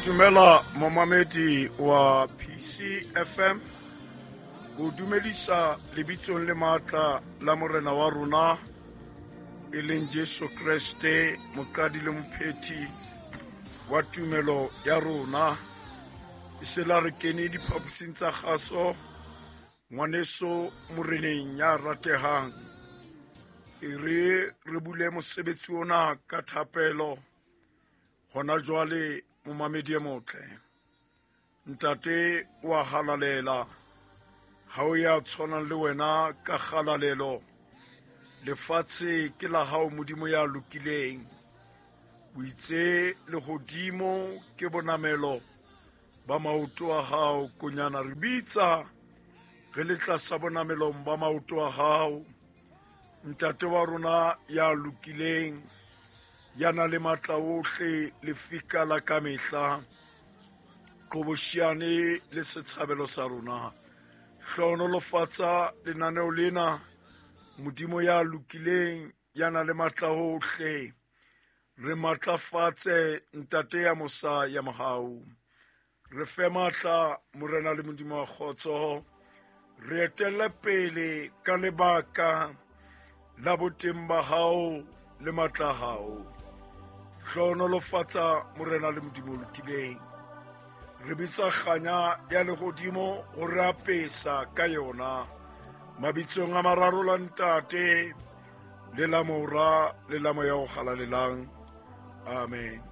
Dumela momamedi wa PCFM. Go dumedisa lebitsong le maatla la morena wa rona e leng Jesu Kreste, moqadi le mophethi wa tumelo ya rona. E se la re kene diphaposing tsa kgaso, ngwaneso moreneng ya ratehang. E re re bule mosebetsi ona ka thapelo hona jwale, momamedi e motle. Ntate wa halalela, ha o ya tshwanang le wena ka kgalalelo. Lefatshe ke la hao, Modimo ya lokileng. O itse lehodimo ke bonamelo ba maoto a hao, konyana re bitsa re le tlasa bonamelong ba maoto a hao. Ntate wa rona ya lokileng, ya na le matla ohle, lefika la kamehla, qoboshiane le setshabelo sa rona. Hlohonolofatsa lenaneo lena, Modimo ya lokileng, ya na le matla ohle. Re matlafatse, Ntate ya mosa ya mohau. Re fe matla, Morena le Modimo wa kgotso. Re etelle pele ka lebaka la boteng ba hao le matla a hao. Hlohonolofatsa, Morena le Modimo o lokileng. Re bitsa kganya ya lehodimo ho re apesa ka yona. Mabitsong a mararo la Ntate, le la Mora, le la Moya o Halalelang. Amen.